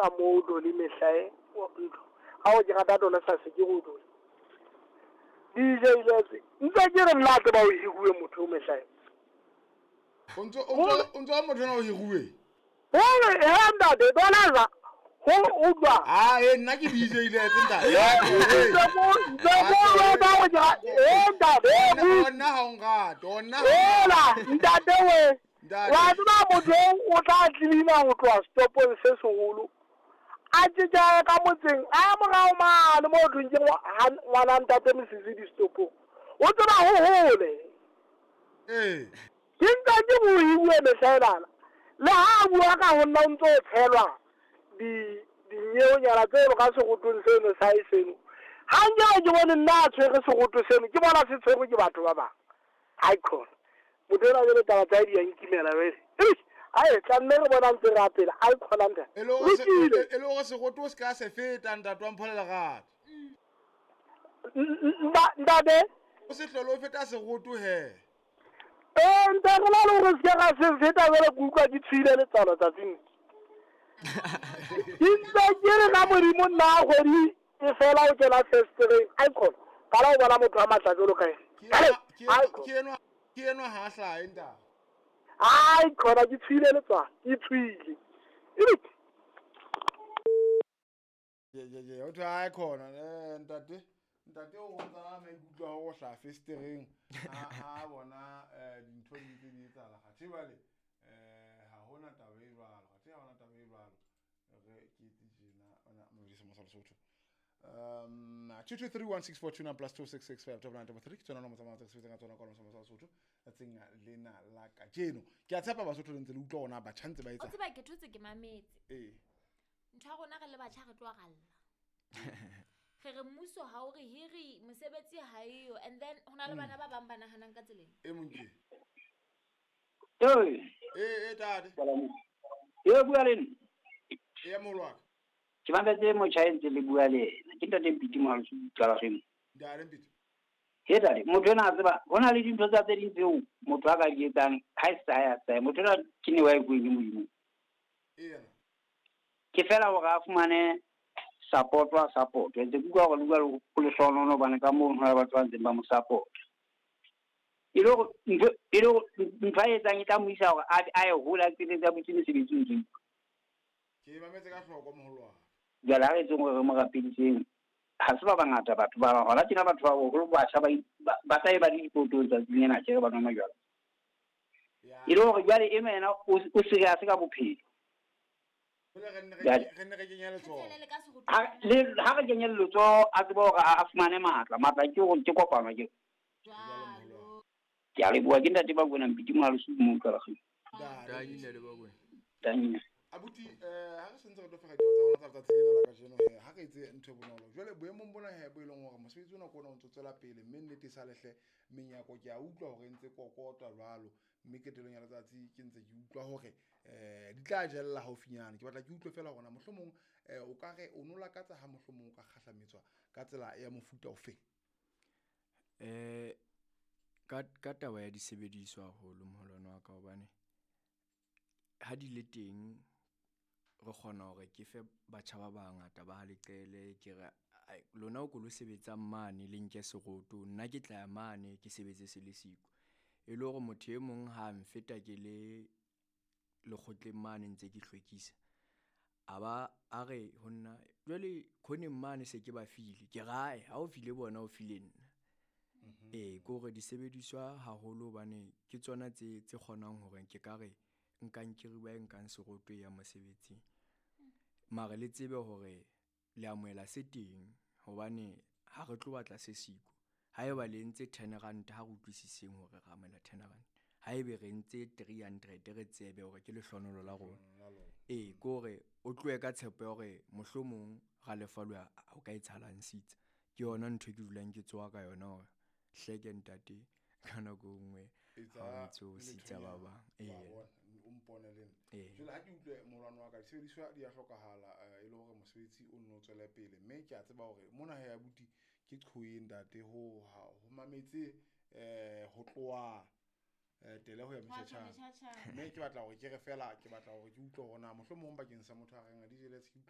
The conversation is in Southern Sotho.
tsa moo Doli mehlae ntlo. Ha o ke rata dona sa se ke go Doli. DJ Letse ntse ke re nna tseba o hiruwe motho o mehlae. O ntso motho ona o hiruwe. Hore he ntate bona ho utlwa. Ah eh nna ke DJ Letse ntate. Nna ha o nrate, nna. Hola ntate we. Wa tseba motho o tla tlilina ho tloha stopong se seholo. A tjeka ka motseng a morao mane mo thong ke ngwana ntate Mosisi di stopong. O tseba ho hole. Eh. Ke ntse ke buiwe mehlaelana. Le ha bua ka ho nna o ntso tshelwa di dinyeonyana tse ka segotong seno sa e seno. Ha nke ke bone nna a tshwere segoto seno ke bona se tshwerwe ke batho ba bang. Hai khona. Motho ena jwale taba tsa di a nkimela wele. Ai tla nne re bona ntse re apela. Ai khona ntate. E le hore segoto se ka se feta ntate wa Mpho le Lerato. Ntate o se hlole o feta segoto he. Eh ntate re la le hore se ka se feta jwale ke utlwa ke tshwile letswalo tsatsing. Ke ntse ke re ka Modimo nna kgwedi e fela o kena festereng. Ai khona. Ka la o bona motho a matla jwalo ka ena. Ke enwa ha hlahe ntate. Ai khona ke tshwile letswalo, ke tshwile. Ye o thwe ai khona ntate. Ntate o ntsa maikutlo a go hla festereng ha bona dintho di ntse di etsahala kgathe jwale ha hona taba e jwalo kgathe ha hona taba e jwalo re ke etse tjena ona modise mo sa Lesotho 2231642 plus 2665933 ke tsona nomoro tsa tse sebetsang ka tsona ka mo sa Lesotho tsatsing lena la kajeno. Ke a tshepa Basotho le ntse le utlwa ona batjha ntse ba etsa. O tseba ke thotse ke mametse. Eh. Ntho ya rona re le batjha re tloa ralla. Re re mmuso ha o re hiri mosebetsi ha eyo and then hona le bana ba bang ba nahanang ka tseleng. E mong ke. Eh. Eh tate. Ye bua le nna. E molwaka. Ke mametse motjha e ntse le bua le yena. Ke ntate Mpiti Mohalosho Qalageng. Ntate Mpiti. He tate, motho ena a tseba hona le dintho tsa tse ding tseo motho a ka di etsang ha e sa ya sa. Motho ena ke ne wa e bueng ke Modimo. Ena. Ke fela hore a fumane support wa support. Ntse ke utlwa hore le bua le hlonono bana ka moo hona batho ba ntseng ba mo support. E le hore ntho a etsang e tla mo isa hore a ye hole a qetetse a butse mesebetsi ntse. Ke mametse ka hloko moholwane. Jwale ha re etseng hore re mo rapediseng. Ha se ba bangata batho ba hona tjena batho ba boholo batjha ba tla e ba le dipotong tsatsing lena tje ba nwa majwala. E le hore jwale eno yena o serious ka bophelo. Re nne re kenya letsoho. Ha re kenye letsoho a tsebe hore a fumane matla. Matla ke hore ke kopano ke. Ke a leboha ke ntate Bakwena Mpiti Mohalosho mo Qalageng. Ntate Bakwena. Tanya. Abuti ha re sentse re tlo fega ditaba tsa rona tsa letsatsi lena la kajeno he ha re etse ntho e bonolo. Jwale boemong bona he bo e leng hore mosebetsi ona ke ona o ntso tswela pele mme nnete e sa lehle menyako ke a utlwa hore ntse kokotwa jwalo mme ketelong ya letsatsi ke ntse ke utlwa hore di tla jella haufinyane. Ke batla ke utlwe fela hore na mohlomong o ka re o no lakatsa ha mohlomong o ka kgahlametswa ka tsela ya mofuta ofe? Ka taba ya disebediswa haholo moholwane wa ka hobane ha di le teng re kgona hore ke fe batjha ba bangata ba leqele ke re lona o ko lo sebetsang mane le nke seroto nna ke tla ya mane ke sebetse se le siko e le hore motho e mong ha mfeta ke le lekgotleng mane ntse ke hlwekisa a ba a re ho nna jwale khoneng mane se ke ba file ke rae ha o file bona o file nna. Eh ke hore disebediswa haholo hobane ke tsona tse kgonang hore ke ka re nkang ke riba nkang seroto ya mosebetsing mare le tsebe hore le amohela se teng hobane ha re tlo batla se siko ha eba le ntse 10 rand ha re utlwisiseng hore re amohela 10 rand ha ebe re ntse 300 re tsebe hore ke lehlonolo la rona. Eh ke hore o tlohe ka tshepo ya hore mohlomong ra lefalwa ho ka etsahalang sitsa ke yona ntho e ke dulang ke tsoha ka yona hore hleke ntate ka nako nngwe ha ntse o sitsa ba bang. O mpone le nna. Jwale ha ke utlwe molwane wa ka disebediswa di a hlokahala e le hore mosebetsi o nno tswele pele mme ke a tseba hore mona he abuti ke qhoeng ntate ho mametse ho tloha tele ho ya metjhatjhana mme ke batla hore ke re fela ke batla hore ke utlwe hore na mohlomong bakeng sa motho a reng a DJ Lets ke utlwe